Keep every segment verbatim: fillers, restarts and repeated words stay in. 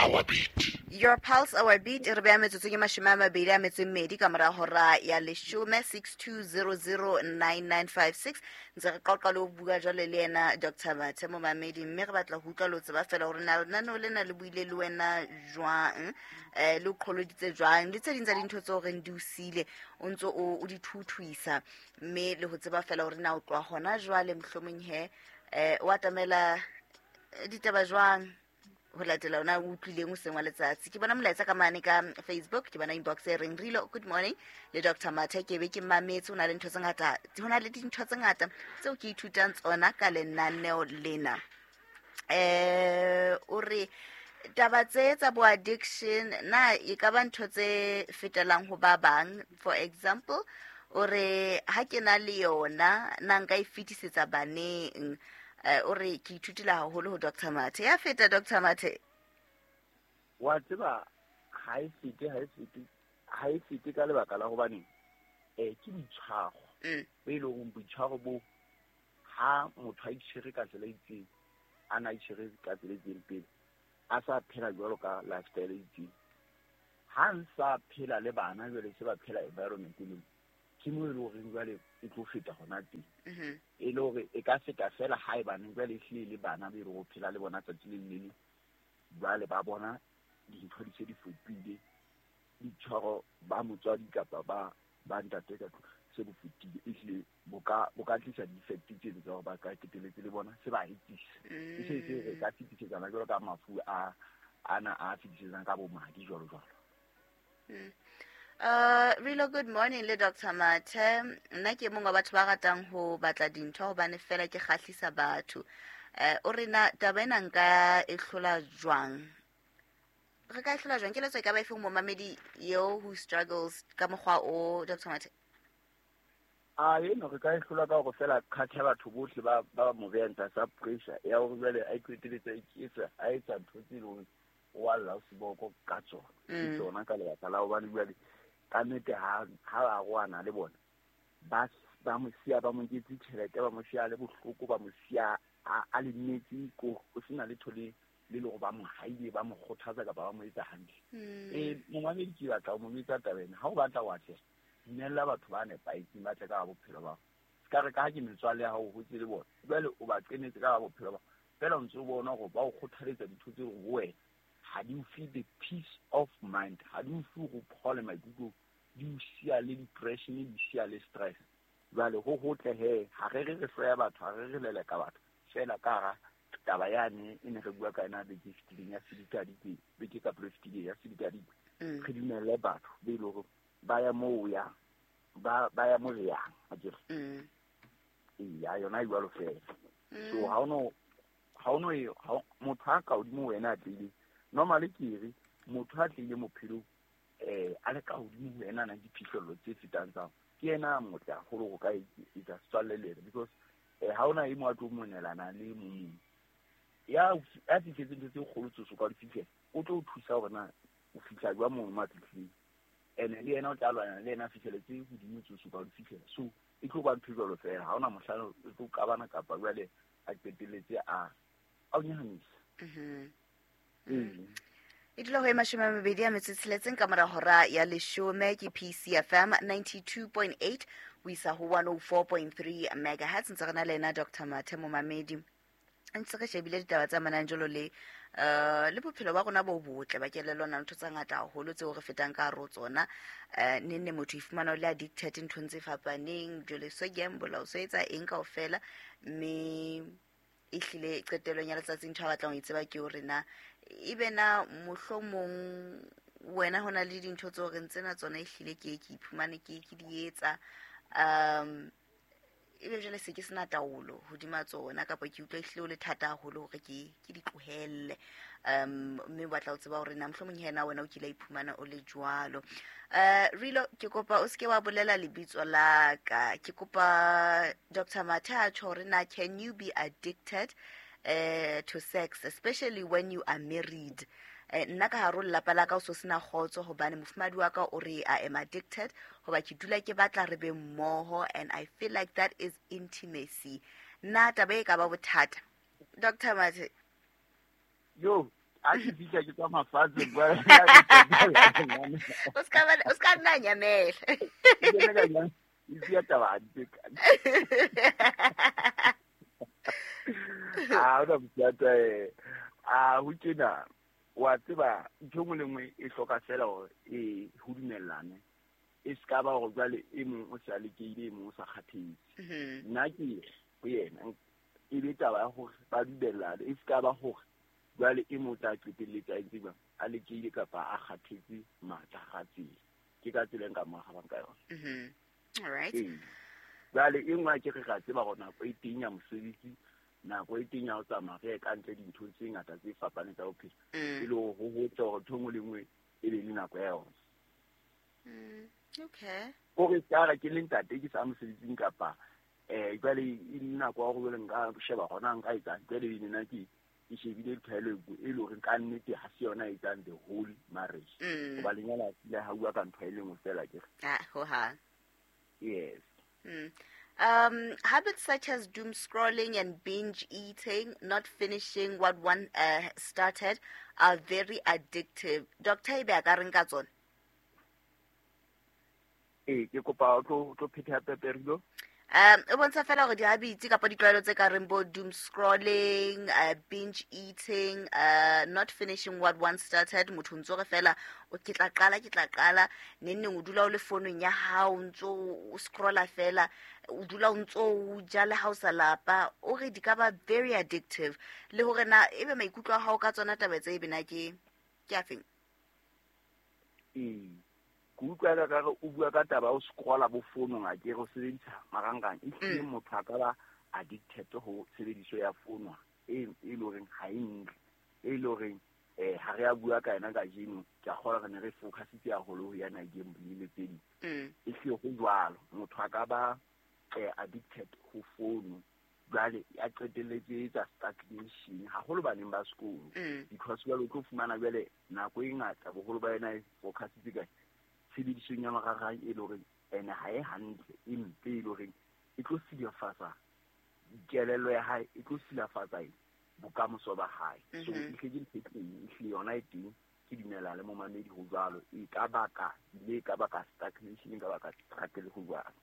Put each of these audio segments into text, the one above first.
our beat. Your pulse, our beat. Re beha metsotso ke mashome a mabedi a metso e mmedi ka mora hora ya leshome, six two zero zero nine nine five six. Ntse re qoqa le ho bua jwale le yena Doctor Mathe momamedi, mme re batla ho utlwa le ho tseba fela hore na lenaneo lena le buile le wena jwang, eh, le o qholoditse jwang, le tse ding tsa dintho tseo reng di o siile o ntso o, o di thuthuisa, mme le ho tseba fela hore na o tloha hona jwale mohlomong he, eh, o atamela ditaba jwang ho latela ona o utlwileng hoseng wa letsatsi. Ke bona molaetsa ka mane ka Facebook, ke bona inbox e reng Rilo, good morning le Doctor Mathe, ke be ke mametse, ho na le ntho tse ngata, ho na le dintho tse ngata tseo ke ithutang tsona ka lenaneo lena. Eh, o re taba tse tsa bo addiction na e ka ba ntho tse fetelang ho ba bang? For example, o re ha ke na le yona na nka e fetisetsa baneng? Eh, o re ke ithutile haholo ho Doctor Mathe. Ya feta Doctor Mathe. Wa tseba ha e fete, ha e fete, ha e fete ka lebaka la hobane, eh, ke boitshwaro. Mm. Bo e leng hore boitshwaro bo ha motho a itshwere ka tsela e itseng, a na itshwere ka tsela e itseng pele, a sa phela jwalo ka lifestyle e itseng. Ha nsa phela le bana jwale se ba phela environment e leng, ke moo e leng horeng jwale e tlo feta hona teng. Mm-hmm. E le hore e ka feta fela ha e baneng jwale ehlile le bana be e leng hore o phela le bona tsatsi le le leng, jwale ba bona dintho di se di fetohile, boitshwaro ba motswadi kapa ba, ba ntate ka tlung se bo fetile, ehlile bo ka, bo ka tlisa di-effect tseno tsa hore ba ka qetelletse le bona se ba etsisa. E se se re ka fetisetsana jwalo ka mafu a, ana a fetisetsang ka bo madi jwalo jwalo. Mm. Uh, Rilo, good morning le Doctor Mathe. Nna ke mongwe wa batho ba ratang ho batla dintho hobane fela ke kgahlisa batho. Eh, o re na taba ena nka e hlola jwang? Re ka e hlola jwang? Keletso e ka ba efe ho momamedi eo who struggles ka mokgwa o, Doctor Mathe? A eno re ka e hlola ka hore fela kgathe batho bohle ba, ba mo behang tlasa pressure ya hore jwale a iqeteletse a iketsa, a etsa ntho tse leng hore o a lla o seboko ka tsona. Ke Mm. tsona ka lebaka la hobane jwale ka nnete ha, ha ba arohana le bona, ba, ba mo siya, ba mo nketse tjhelete, ba mo siya le bohloko, ba mo siya a, a lemetse ko, ho sena letho le, le le hore ba mo haile, ba mo kgothatsa kapa ba mo etsa hantle. Mm. Eh, momamedi ke batla ho mo etsa taba ena. Ha o batla ho atleha, dumella batho ba nepahetseng ba tle ka bophelo ba hao. Se ka re ka ha ke metswalle ya hao, o hotse le bona, jwale o ba qenetse ka bophelo ba hao. Feela o ntso o bona hore ba o kgothaletsa dintho tse hore ho wena ha di o fe the peace of mind, ha di o fe hore o phole maikutlong, di o siya le depression, di siya le stress. Jwale ho hotle he, ha re re re hloya batho, ha re re leleka batho, feela ka hara taba yane e ne re bua ka yona beke e fetileng ya sedikadikwe, beke ka pele e fetileng ya sedikadikwe. Mm. Re dumelle batho be e leng hore ba ya moo o yang, ba, ba ya mo re yang, akere? Mm. Eya, yona e jwalo feela. Mm. So ha o no, ha o no e, ha o, motho a ka hodimo ho wena a tlile, normally ke re motho a tlile bophelong, eh, a le ka hodimo ho wena a nang le diphihlello tse fetang tsa hao, ke yena a motle haholo ho ka etsa setswalle le yena, because, eh, ha hona e mong a tlo monelana le e mong mong. Ya, ya fihletseng ntho tse kgolo tseo ka di fihlela, o tlo o thusa hore na o fihla jwang moo mo a fihlileng. Ene le yena o tla lwana le yena a fihlele tse hodimo tseo ka di fihlela. So e tlo ba ntho e jwalo feela, ha hona mohlang o tlo qabana kapa jwale a qetelletse a, a o nyahamisa. Mm-hmm. Ee. E dula ho e mashome a mabedi a metso e tsheletseng ka mora hora ya leshome ke P C F M ninety-two point eight ho isa ho one oh four point three megahertz. Ntse re na le yena Doctor Mathe momamedi. Ntse re shebile ditaba tse amanang jwalo le, eh, le bophelo ba rona bo botle ba kelello, na ntho tse ngata haholo tseo re fetang ka hare ho tsona. Eh, neng neng motho ifumana o le addicted nthong tse fapaneng, jwale so gamble, o so etsa eng kaofela, mme ehlile qetellong ya letsatsi ntho a batlang ho e tseba ke hore na ebe na mohlomong wena ho na le dintho tseo re ntsena tsona ehlile ke, ke iphumane ke, ke di etsa, um, ebe jwale se ke sena taolo hodima tsona, kapa ke utlwa ehlile ho le thata haholo hore ke, ke di tlohelle. Um, mme o batla ho tseba hore na mohlomong hena wena o kile wa iphumana o le jwalo. Eh, Rilo, ke kopa o seke wa bolela lebitso la ka. Ke kopa Doctor Mathe a tjho hore na can you be addicted, eh, to sex, especially when you are married? Eh, nna ka hare ho lelapa la ka o so sena kgotso hobane mofumahadi wa ka o re I am addicted hoba ke dula ke batla re be mmoho, and I feel like that is intimacy. Na taba e ka ba bothata? Doctor Mathe. Yo, A ke fihla ke tswa mafatshe ba O ska ba o ska nna nyamela. Ke ka nna e ya taba hantle. A o da a ho tjena wa tseba ntho nngwe le nngwe e hloka fela hore e ho dumellane e ska ba hore jwale e mong o sa lekeile e mong o sa kgathetse. Nna ke ho yena e be taba ya hore ba dumellane e ska ba hore jwale e mong o tla qetelletse a entse jwang a lekeile kapa a kgathetse matla ga tsela. Ke ka tsela e nka mo arabang ka yona. All right. Jwale e nngwe ke re ra tseba hore nako e teng ya mosebetsi nako e teng ya ho tsamaya re ye ka ntle dintho tse ngata tse fapaneng tsa bophelo e le hore ho hotle hore ntho e nngwe le nngwe e be le nako ya yona. Okay. Hore ka re ke le ntate ke sa mosebetsing kapa eh jwale e le nako ya hore jwale nka sheba hona nka etsang jwale e nna ke ke shebile tlwaelo e le hore ka nnete ha se yona e etsang the whole marriage. Hoba lenyalo le ha bua ka ntho e le nngwe fela ke re. Ah, ho ha. Yes. Mm. Um, habits such as doom scrolling and binge eating, not finishing what one uh, started, are very addictive. Doctor ebe a ka reng ka tsona? Eh, ke kopa o tlo tlo phetha peperilo. Um, e bontsha fela hore di-habits kapa ditlwaelo tse ka reng bo doom scrolling, uh, binge eating, uh, not finishing what one started, motho ntso re fela o ke tla qala ke tla qala neng neng o dula o le founong ya hao o ntso o scrolla fela o dula o ntso o ja le ha o sa lapa o re di ka ba very addictive le hore na ebe maikutlo a hao ka tsona taba tse ebe na ke ke afeng? Ee, ke utlwa ka re o bua ka taba o scrolla bo founong a ke re o sebedisa marangrang e hlile motho a ka ba addicted ho tshebediso ya fono e e le horeng ha e ntle e le horeng eh ha re a bua ka yena kajeno ke a kgolwa re ne re focusitse haholo ho yana gambling le tse ding. E hlile ho jwalo motho a ka ba addicted ho fono jwale a qetelletse etsa stagnation haholo baneng ba sekolo because jwale o tlo fumana jwale nako e ngata boholo ba yena e focusitse ka tshebedisong ya marangrang e le horeng ene ha e hantle e mpe e le horeng e tlo silafatsa kelello ya hae e tlo silafatsa bokamoso ba hae. So e hle ke ntho e teng e hlile yona e teng ke dumela le momamedi ho jwalo e ka baka le e ka baka stagnation e ka baka struggle ho jwalo.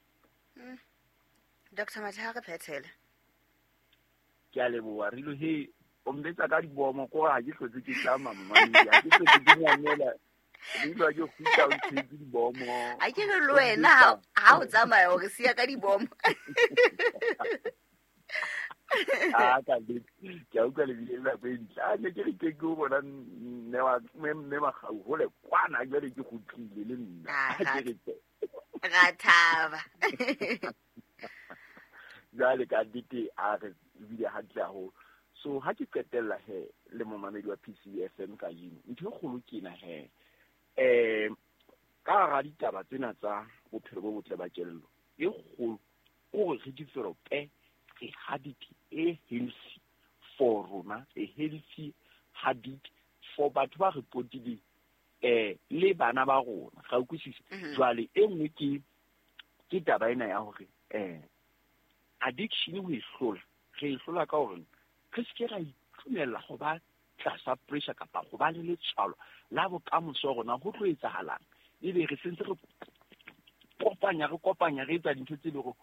Doctor Mathe ha re phethele. Ke a leboha Rilo he o mbetsa ka dibomo ko ha ke hlotse ke tlama momamedi ha ke hlotse ke nyamela Rilo ha ke kgutla o ntshetse dibomo. A ke re le wena ha o tsamaya o re siya ka dibomo. Ah ka le ke a utlwa le bile nako e ntle. A ne ke re ke ke o bona mme wa mme Makgau hole kwana jwale ke kgutlile le nna. Ke re Ra thaba. Jwale ka nnete a re ebile hantle haholo. So ha ke qetella he le momamedi wa P C F M kajeno ntho e kgolo ke ena he eh ka hara ditaba tsena tsa bophelo bo botle ba kelello e kgolo o re develope a habit e healthy for rona a healthy habit for batho ba re potileng eh le bana ba rona ga utlwisisa. Jwale e nngwe ke ke taba ena ya hore eh addiction ho e hlola re e hlola ka hore re se ke ra itumella ho ba tlasa pressure kapa ho ba le letshwalo la bokamoso rona ho tlo etsahalang ebe re sentse re kopanya re kopanya re etsa dintho tse le hore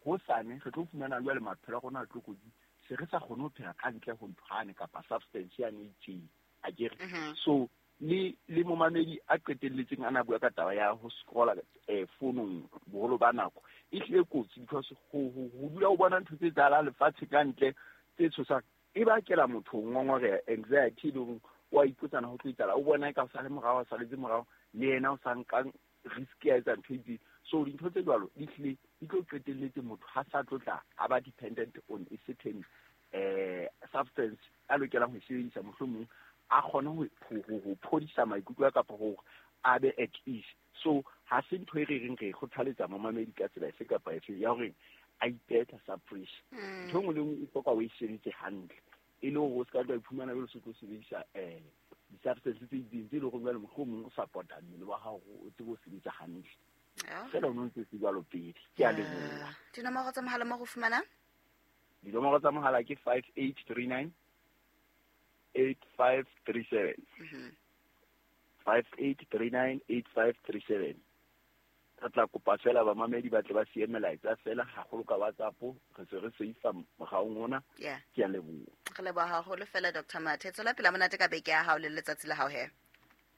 hosane re tlo fumana jwale maphelo a rona a tlo kotsi se re sa kgone ho phela ka ntle ho nthwane kapa substance yane e itseng a ke re. So le le momamedi a qetelletseng a na bua ka taba ya ho scrolla eh founong boholo ba nako e hlile kotsi because ho ho dula o bona ntho tse etsahalang lefatshe ka ntle tse tshosang e bakela motho ngongoreha anxiety le hore wa ipotsana ho tlo etsahala o bona eka o sa le morao o saletse morao le yena o sa nkang risk ya etsa ntho e itseng. So dintho tse jwalo di hlile di tlo qetelletse motho ha sa tlo tla a ba dependent on a certain eh substance a lokelang ho e sebedisa mohlomong a kgone ho ho phodisa maikutlo a kapa hore a be at ease. So ha se ntho e re reng re kgothaletsa momamedi ka tsela efe kapa efe ya hore a ipehe tlasa pressure. Ntho e nngwe le nngwe e hloka o e sebetse hantle e le hore o se ka tla iphumana jwale o se tlo sebedisa eh di-substance tse itseng tse leng hore jwale mohlomong o support-a mmele wa hao o tsebe ho sebetsa hantle. Fela o no ntse se jwalo pele. Ke a leboha. Dinomoro tsa mohala mo go fumanang? Dinomoro tsa mohala ke five eight three nine eight five three seven. Mhm. Five eight three nine eight five three seven. Re tla kopa fela bamamedi ba tle ba siye melaetsa fela haholo ka WhatsApp, re se re seifa mogaong ona. Yeah. Ke a leboha. Re leboha haholo fela Doctor Mathe. Tswela pele monate ka beke ya hao le letsatsi la hao he.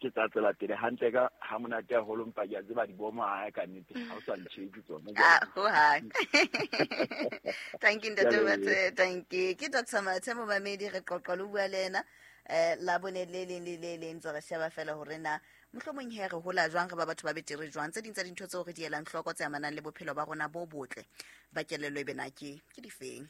Ke tla tswela pele hantle ka ha monate haholo, mpa ke a tseba dibomo ha ka nnete ha o sa ntjhetse tsona. Ah, ho hang. Thank you, Ntate Ke a leboha. Mathe. Thank you. Ke Doctor Mathe momamedi, re qoqa le bua le ena eh la bone le leng le le leng, ntse re sheba fela hore na mohlomong he re hola jwang, re ba batho ba betere jwang, tse ding tsa dintho tseo re di elang hloko tse amanang le bophelo ba rona bo botle ba kelello e be na ke ke difeng.